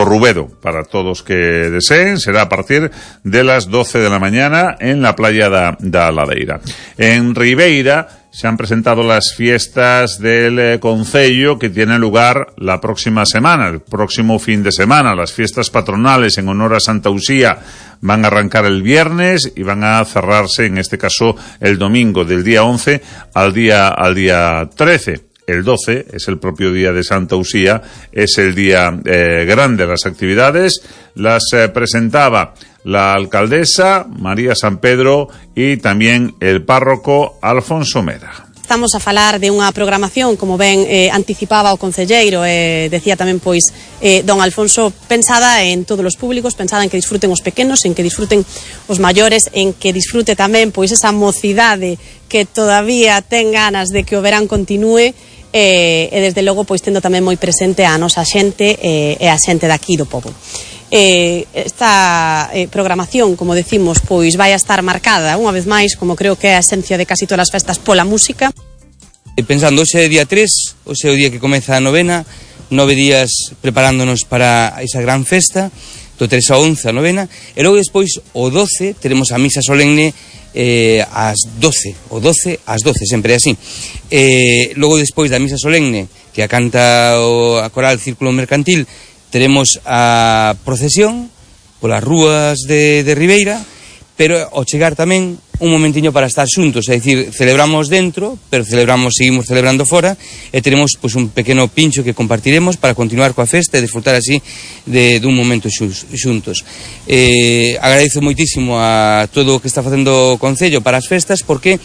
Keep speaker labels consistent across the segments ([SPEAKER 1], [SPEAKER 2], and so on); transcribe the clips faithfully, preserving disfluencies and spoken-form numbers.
[SPEAKER 1] Rubedo, para todos que deseen. Será a partir de las doce de la mañana en la playa da, da Ladeira. En Ribeira se han presentado las fiestas del eh, Concello, que tienen lugar la próxima semana, el próximo fin de semana. Las fiestas patronales en honor a Santa Usía van a arrancar el viernes y van a cerrarse, en este caso, el domingo, del día once al día, al día trece. El doce es el propio día de Santa Usía, es el día eh, grande. Las actividades las eh, presentaba la alcaldesa María San Pedro y tamén el párroco Alfonso Mera.
[SPEAKER 2] Estamos a falar de unha programación, como ben eh, anticipaba o concelleiro, e eh, decía tamén pois eh, don Alfonso, pensada en todos os públicos, pensada en que disfruten os pequenos, en que disfruten os maiores, en que disfrute tamén pois esa mocidade que todavía ten ganas de que o verán continúe, eh, e desde logo pois tendo tamén moi presente a nosa xente eh, e a xente daqui do pobo. Eh, esta eh, programación, como decimos, pois vai a estar marcada unha vez máis, como creo que é a esencia de casi todas as festas, pola música.
[SPEAKER 3] Pensando, hoxe é día tres, hoxe é o día que comeza a novena, nove días preparándonos para esa gran festa, do tres a once a novena, e logo despois o doce teremos a misa solemne eh, ás doce, o doce ás doce, sempre é así. Eh, logo despois da misa solemne, que a canta o, a coral Círculo Mercantil, teremos a procesión polas rúas de, de Ribeira, pero ao chegar tamén un momentiño para estar xuntos, é dicir, celebramos dentro, pero celebramos, seguimos celebrando fora, e teremos pois, un pequeno pincho que compartiremos para continuar coa festa e disfrutar así de, de un momento xuntos. Eh, agradezo moitísimo a todo o que está facendo o Concello para as festas, porque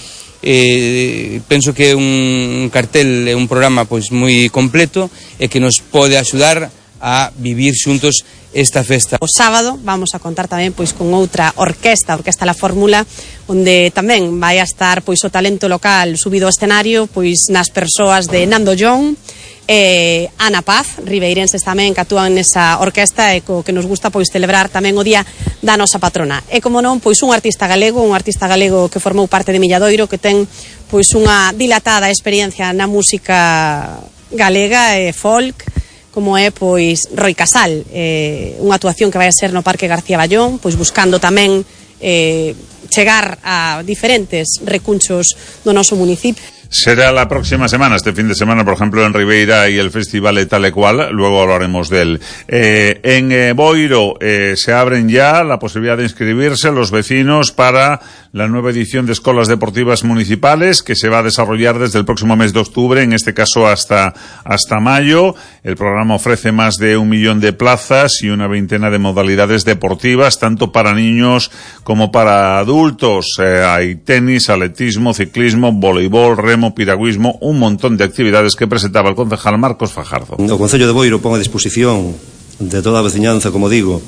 [SPEAKER 3] eh, penso que é un cartel, é un programa pois moi completo e que nos pode axudar a vivir xuntos esta festa.
[SPEAKER 2] O sábado vamos a contar tamén pois con outra orquesta, a Orquesta La Fórmula, onde tamén vai a estar pois o talento local subido ao escenario, pois nas persoas de Nando John, eh, Ana Paz, ribeirenses tamén que actúan nesa orquesta, e co que nos gusta pois celebrar tamén o día da nosa patrona. E como non, pois un artista galego, un artista galego que formou parte de Milladoiro, que ten pois unha dilatada experiencia na música galega e folk, como é pois Roi Casal, eh, unha actuación que vai a ser no Parque García Ballón, pois buscando tamén eh, chegar a diferentes recunchos do noso municipio.
[SPEAKER 1] Será la próxima semana, este fin de semana, por ejemplo, en Ribeira y el festival de tal y cual, luego hablaremos de él. Eh, en eh, Boiro eh, se abren ya la posibilidad de inscribirse los vecinos para la nueva edición de Escolas Deportivas Municipales, que se va a desarrollar desde el próximo mes de octubre, en este caso hasta, hasta mayo. El programa ofrece más de un millón de plazas y una veintena de modalidades deportivas, tanto para niños como para adultos. Eh, hay tenis, atletismo, ciclismo, voleibol, remo, piragüismo, un montón de actividades que presentaba el concejal Marcos Fajardo.
[SPEAKER 4] O Concello de Boiro pon a disposición de toda a veciñanza, como digo,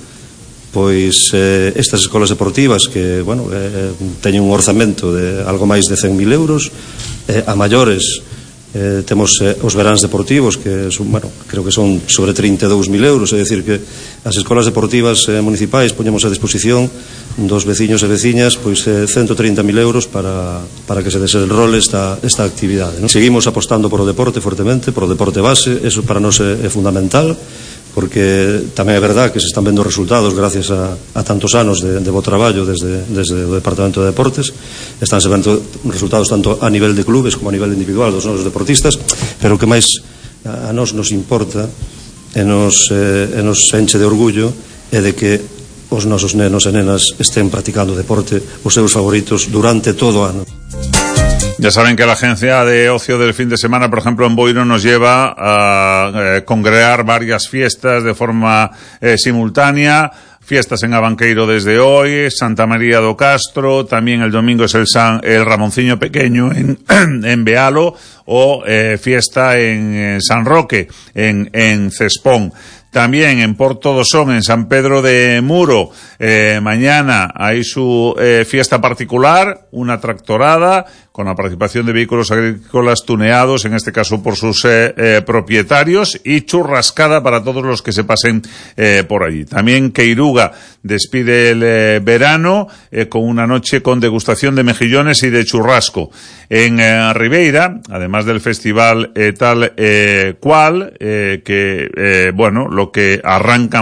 [SPEAKER 4] pois eh, estas escolas deportivas que, bueno, eh, teñen un orzamento de algo máis de cen mil euros, eh, a maiores eh, temos eh, os veráns deportivos que son, bueno, creo que son sobre trinta e dous mil euros, é dicir que as escolas deportivas eh, municipais poñemos a disposición dos veciños e veciñas pois eh, ciento treinta mil euros para, para que se desenrole esta, esta actividade, ¿no? Seguimos apostando por o deporte fortemente, por o deporte base, eso para nós é, é fundamental, porque tamén é verdad que se están vendo resultados gracias a, a tantos anos de, de bo traballo desde, desde o Departamento de Deportes. Estánse vendo resultados tanto a nivel de clubes como a nivel individual dos nosos deportistas, pero o que máis a, a nós nos importa e nos, eh, e nos enche de orgullo é de que os nosos nenos e nenas estén practicando deporte, os seus favoritos, durante todo o ano.
[SPEAKER 1] Ya saben que la agencia de ocio del fin de semana, por ejemplo, en Boiro, nos lleva a eh, congregar varias fiestas de forma eh, simultánea. Fiestas en Abanqueiro desde hoy, Santa María do Castro, también el domingo es el, San, el Ramonciño Pequeño en, en Bealo, o eh, fiesta en, en San Roque, en, en Cespón. También en Porto do Son, en San Pedro de Muro, eh, mañana hay su eh, fiesta particular, una tractorada, con la participación de vehículos agrícolas tuneados, en este caso por sus eh, eh, propietarios, y churrascada para todos los que se pasen eh, por allí. También Queiruga despide el eh, verano eh, con una noche con degustación de mejillones y de churrasco. En eh, Ribeira, además del festival eh, tal eh, cual, eh, que, eh, bueno, lo que arranca mañana